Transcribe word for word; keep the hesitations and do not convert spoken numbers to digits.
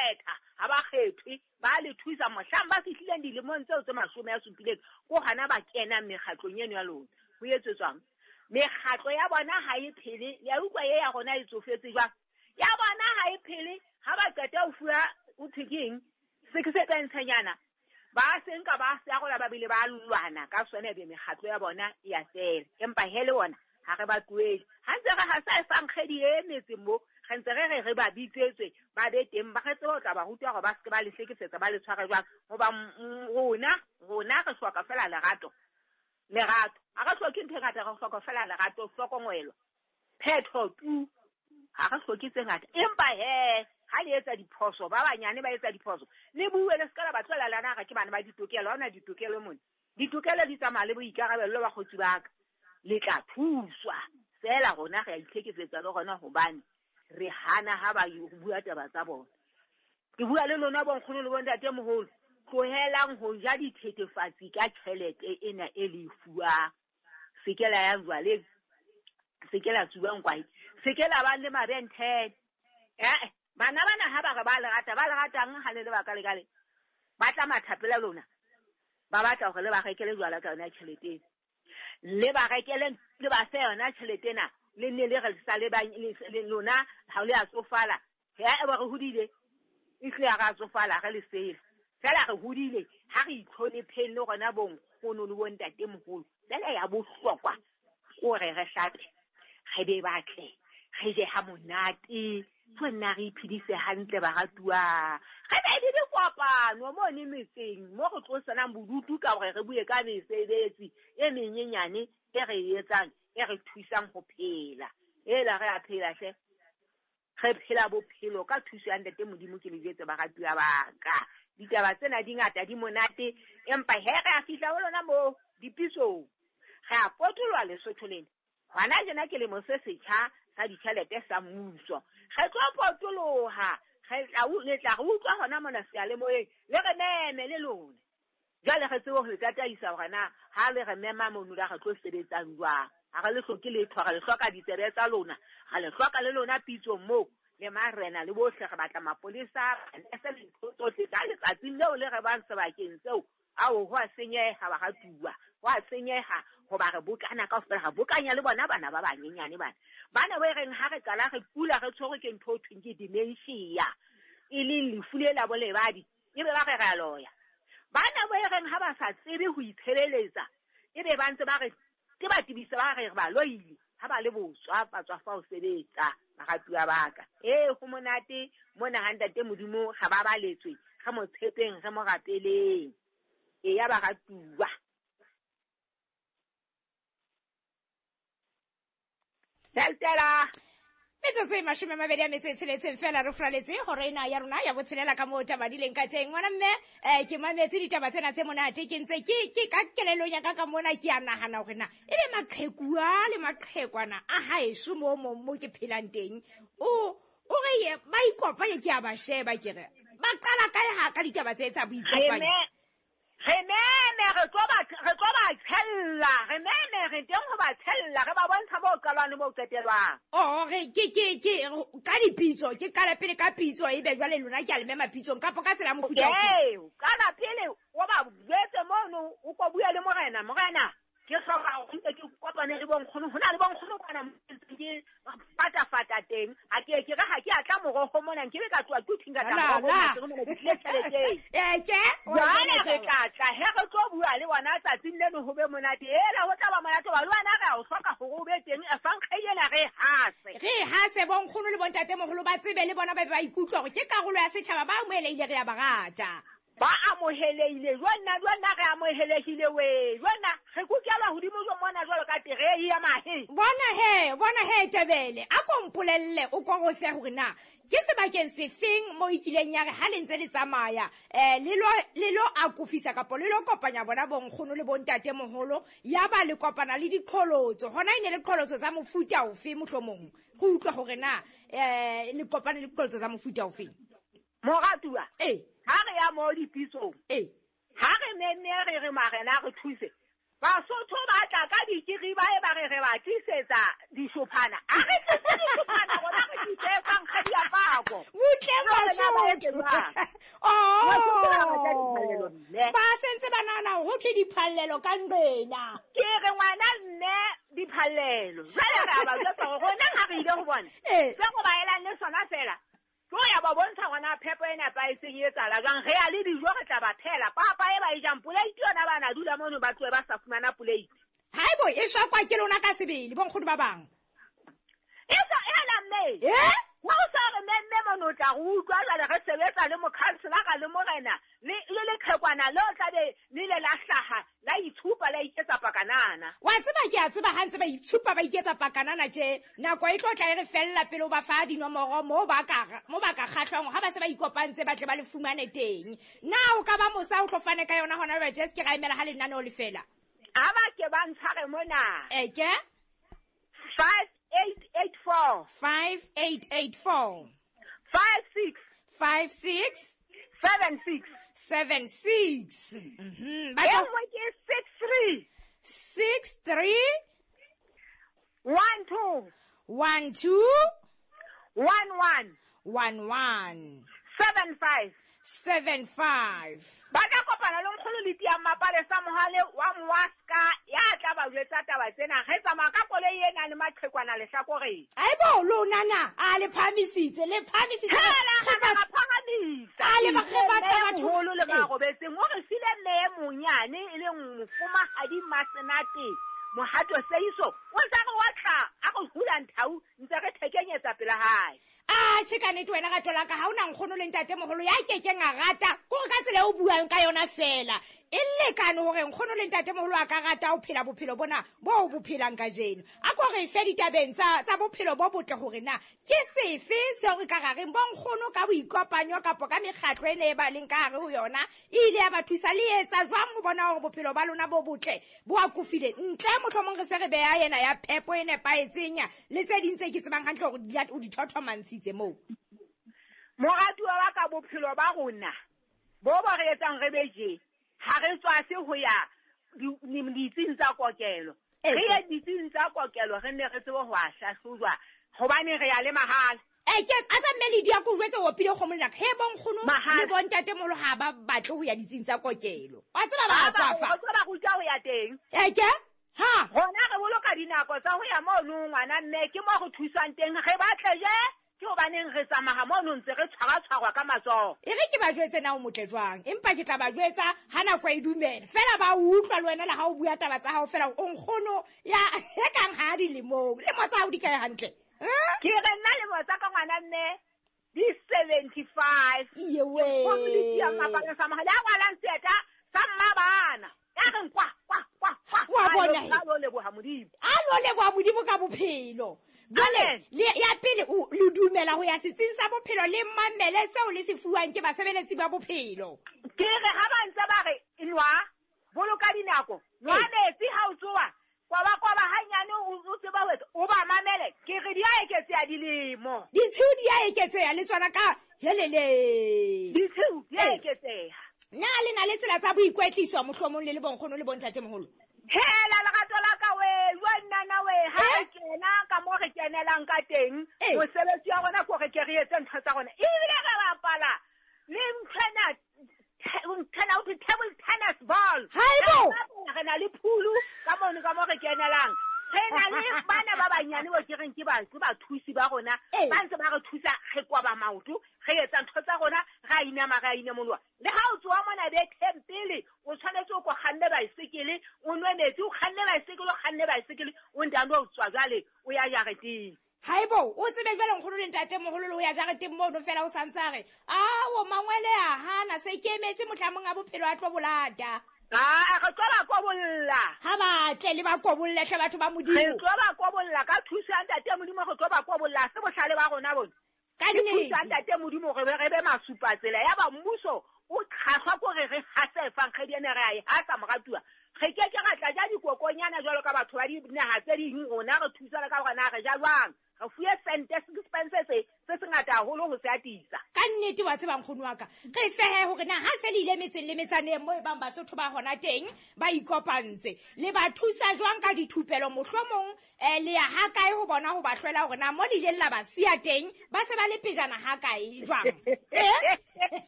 kgetha, ha ba kgethwe, ba le thusa mohlang ba fihlileng dilemong tseo tse mashome a supileng, ko hana ba kenang mekgatlong eno ya lona. Ho etsetswang? Mekgatlo ya bona ha e phele, le a utlwa ye ya rona e tsofetse jwang? Ya bona ha e phele, ha ba qeta ho fuwa o thwe ke eng? Se ke se pentshenyana. Ba se nka ba se arola ba bile ba lwana ka sona be mekgatlo ya bona e ya fela. Empa he le bona ha re ba tlohele. Ha ntse re hasa e fankgedi e metseng mo, re ntse re re re ba bitsetswe, ba be teng, ba re tsebe ho tla ba ruta hore ba se ke ba le hlekefetsa, ba le tshware jwang. Hoba rona, rona re hloka fela lerato. Lerato. Ha re hloke ntho e ngata, re hloka fela lerato, hlokomelo. Phetho tu. Ha re hloke tse ngata. Empa he, ha le etsa diphoso, ba banyane ba etsa diphoso, le bue le se ka la ba tlohela lana re ke bana ba ditokelo, ha hona ditokelo mona. Ditokelo di tsamaya le boikarabello ba kgotsi ba ka. Le tla thuswa. Feela rona re a itlhekefetsa le rona hobane re hana ha ba bua taba tsa bona. Ke bua le lona bonkgono le bontatemoholo, tlohelang ho ja dithethefatsi ka tjhelete ena e le e fuwang. Se ke la ya jwaleng, se ke la tsubang kwae, se ke la ba le mabenthele. Eh, bana bana ha ba re ba le rata, ba le ratang ha le le baka le kale. Ba tla mathapela lona. Ba batla hore le ba rekele jwala ka yona tjhelete ena. Le ba rekele, le ba fe yona tjhelete ena, le nne le re sa le ba, le lona ha le a tsofala. Ya e ba re hodile, e tle ya ra tsofala re le sele. Fela re hodile, ha re itlhonepheng le rona bonkgono le bontatemoholo. Fela ya bohlokwa kore re hlape, re be batle, re je ha monate, tlo nna re iphedise hantle baratuwa. Re be le dikopano mone metseng mo re tlosanang bodutu ka hore re bue ka mesebetsi e menyenyane e re e etsang, e re thusang ho phela. Ela re a phela hle. Re phela bophelo ka thuso ya Ntate Modimo, ke le jwetse baratuwa ba ka. Ditaba tsena di ngata, di monate, empa he re a fihla ho lona moo dipisong. Re a potoloha Lesotho lena. Hona jena ke lemo se setjha sa ditjhelete sa mmuso. Re tlo potoloha, re tla u-, le tla re utlwa hona mona seyalemoyeng, le re meme le lona. Jwale re tsebe ho le tataisa hore na ha le re mema mono la re tlo sebetsang jwang. Ha re le hloke letho, re le hloka ditsebe tsa lona, re le hloka le lona pitsong moo, le marena le bohle, re batla mapolesa, manese le ntho tsohle. Ka letsatsing leo le re bang sebakeng seo, ao ho a senyeha baratuwa, ho a senyeha hoba re bokana kaofela, re bokanya le bona bana ba banyenyane bana. Bana ba e reng ha re qala re kula re tshwerwe ke ntho e thweng ke dementia, e leng lefu le la bolebadi, ebe ba re re a loya. Bana ba e reng ha ba sa tsebe ho itshireletsa, ebe ba ntse ba re ke ba tebisa ba re re ba loile, ha ba le botswa ba tswa fa ho sebetsa baratuwa ba ka. Eh, ho monate mona ha Ntate Modimo ga ba baletswe, re mo tshepeng, re mo rapeleng. E ya baratuwa. Tella. Metsotso e mashome a mabedi a metso e tsheletseng fela re furaletse hore ena ya rona ya botshelela ka moo taba di leng ka teng. Ngwana mme, eh, ke mametse ditaba tsena tse monate, ke ntse ke, ke ka kelellong ya ka ka mona ke a nahana hore na ebe maqheku a le maqhekwana a haeso mo, mo, mo ke phelang teng, o, o re ye, ba ikopanye ke a ba sheba ke re, ba qala kae ha ka ditaba tse tsa boikopanyo? Re me-, re meme, re tlo ba, re tlo ba tshella, re meme, re teng ho ba tshella, re ba bontsha moo qalwang le moo qetelwang. Oh, re, ke, ke, ke, ka dipitso, ke qala pele ka pitso, ebe jwale lona ke a le mema pitsong, kapa ka tsela ya mofuta ofe? Ee, qala pele, o ba jwetse mono, o ko bue le morena, morena, ke hloka hore nke ke kopane le bonkgono, ho na le bonkgono kwana mo ke ke fatafata teng. Ha ke, ke re ha ke a tla moroho mona, nke be ka tloha ke thinga tla La, moroho la. mona, ke re mona ke tlile tjheleteng. Eh, ke? O Jwale bona re taba. tla tla, he re tlo bua le bona tsatsing leno ho be monate. Hela, ho tla ba monate hoba le wena re a o hloka hore o be teng, e fankge ena re e hase. Re e hase, bonkgono le bontatemoholo ba tsebe le bona ba be ba ikutlwa hore ke karolo ya setjhaba, ba amohelehile, re a ba rata. Ba amohelehile, jwanna, jwanna re amohelehile we. Jwanna re kukelwa hodimo jo mona jwalo ka terei ya mahe. Bona he, bona he Tebele, a ko mpolelle o ko go fe hore na ke sebakeng sefeng mo e kileng ya re ha le ntse le tsamaya, eh, le lo, le lo akofisa kapa le lo kopanya bona bonkgono le bontatemoholo, ya ba le kopana le diqholotso. Hona e ne le qholotso tsa mofuta ofe mohlomong? Re utlwe hore na, eh, le kopane le diqholotso tsa mofuta ofe. Moratuwa. Ee. Ha re ya mo dipitsong. Ee. Ha re memme re re marena re thuse. Basotho ba tla ka dikiri ba e ba re re ba tlisetsa dishophana. A re tlise dishophana rona re tlise kgadi ya pako. Butle Basotho. Oh. Ba sentse ba nahana ho thwe diphallelo ka nqena. Ke re ngwana mme diphallelo. Jwale re a ba jwetsa hore rona ha re ile ho bona. Se go ba elang le sona fela. Ke ho ya ba bontsha hore na phepo e nepahetseng e etsahala jwang. Re ya le dijo re tla ba phela. Papa e ba e jang poleiti yona ba na dula mono ba tlohe ba sa fumana poleiti. Haibo e shakwa ke lona ka sebele bonkgono ba bang. E sa ela mme. Eh? Wa o sa re mme mono o tla re utlwa jwale re sebetsa le mokhanselara le morena le le leqhekwana le o tla be le ile la hlaha la itshupa la iketsa pakanana. Wa tseba ke a tseba ha ntse ba itshupa ba iketsa pakanana tje nako e tlo tla e re fella pele o ba fa dinomoro mo ba ka mo ba ka kgahlwang ha ba se ba ikopantse ba tle ba le fumane teng. Na o ka ba mosa o tlo fane ka yona hona jwale just ke ra emela ha lenaneo le fela. A ba ke ba ntshware mona. E ke? five eight eight four. five eight eight four. five six. five six. seven six. seven six. Mm-hmm. E nngwe ke six three. six three. one two. one two. one one. one one. seven five. seven five. Ba tla kopana le nkgono le tia mapale sa mohale wa Mwaska ya tla ba jwetsa taba tsena. Re tsamaya ka koloi e nang le maqhekwana lehlakoreng. Aibo lona na a le phahamisitse le phahamisitse. Hela re ba phahamisa. A le ba re batla batho holo le ba robetseng. O re file mme e monyane e leng mofumahadi Masenate Mohato Seiso. O ntse re wa tla a re hula nthau ntse re thekenyetsa pela hae. A che ka nnete wena rato la ka ha ona nkgono le ntate moholo ya kekeng a rata kore ka tsela e o buang ka yona fela e lekane hore nkgono le ntate moholo a ka rata ho phela bophelo bona bo bo phelang kajeno. A ko re fe ditabeng tsa tsa bophelo bo botle hore na ke sefe seo re ka ra reng bo nkgono ka boikopanyo kapa ka mekgatlo e ne e ba leng ka hare ho yona e ile ya ba thusa le etsa jwang ho bona hore bophelo ba lona bo botle bo akofile ntle mohlomong re se re beha yena ya phepo e nepahetseng le tse ding tse ke tsebang hantle hore o di thothomansitse moo. Moratuwa wa ka bophelo ba rona bo bo re etsang re beje ha re tswase ho ya ditsing tsa kokelo. Re ye ditsing tsa kokelo re ne re tsebe ho a hlahlojwa hobane re ya le mahala. E ke a tsa mme le dia ko jwetse o pile kgomo le he bonkgono le bontate moholo ha ba batle ho ya ditsing tsa kokelo. Wa tseba ba tswafa. Ba tseba ruta ho ya teng. E ke ha rona re boloka dinako tsa ho ya mono ngwana mme ke mo re thusang teng re batle je ke hobaneng re tsamaya mono ntse re tshwara tshwarwa ka matsoho. E re ke ba jwetse na o motle jwang empa ke tla ba jwetsa ha nako e dumela fela ba utlwa le wena le ha o bua taba tsa hao fela o nkgono ya e kang ha dilemong le mo tsa hao di kae hantle. Ke re nna le mo tsa ka ngwana mme di seventy-five. Iye we. Go le dia mapale sa mohale a ngwalang seeta sa mmabana. Ya re kwa kwa kwa kwa. Wa bona a lo leboha Modimo. A lo leboha Modimo ka bophelo. Jwale le ya pele o le dumela ho ya setsing sa bophelo le mamele seo le se fuwang ke basebeletsi ba bophelo. Ke re ha ba ntse ba re nwa boloka dinako nwa metsi ha o tsoa kwaba kwaba hanyane o tseba ho o ba mamele ke re di a eketseha dilemo. Ditshiu di a eketseha le tsona ka helele. Ditshiu di a eketseha. Na le na le tsela tsa boikwetliso mohlomong le le bonkgono le bontate moholo? Hela lerato la ka we, wa nna we ha re kena ka mo re kenelang ka teng, mosebetsi wa rona ko re ke re etse ntho tsa rona. Ebile re bapala le nthwena nthwena o table tennis ball. Haibo! Re na le phulu ka mono ka mo re kenelang. Re na le bana ba banyane bo ke reng ke ba ke bathusi ba rona ba ntse ba re thusa re kwaba maoto re etsa ntho tsa rona ra inama ra inemoloha. Le ha o tsoa mona betheng pele o tshwanetse o ko kganne baesekele o nwe metsi o kganne baesekele o kganne baesekele o ntando o tswa jwale o ya jareteng. Haibo o tsebe jwale nkgono le ntate moholo le o ya jareteng mono fela o santse a re ao mangwele a hana se ke emetse mohlamong a bophelo a tlo bolata. Ah, re tlo ba kobolla. Ha ba tle le ba kobolle hle batho ba Modimo. Re tlo ba kobolla ka thuso ya ntate Modimo re tlo ba kobolla se bohlale ba rona bona. Ka nnete. Thuso ya ntate Modimo re be re be masupa tsela ya ba mmuso o kgahlwa ko re re hase efankgedi ene re a e hasa moratuwa. Re ke ke ra tla ja dikokonyana jwalo ka batho ba dinaha tse ding, rona re thusana ka hore na re ja jwang. Re fuwe sente, sixpence se, se sengata haholo ho se atisa. Ka nnete wa tseba nkgono wa ka, re fehe hore na ha se le ile metseng le metsaneng moo e bang Basotho ba hona teng ba ikopantse, le ba thusa jwang ka dithupelo? Mohlomong, eh, le ya ha kae ho bona ho ba hlwela hore na mo le ileng la ba siya teng ba se ba le pejana ha kae jwang? Eh?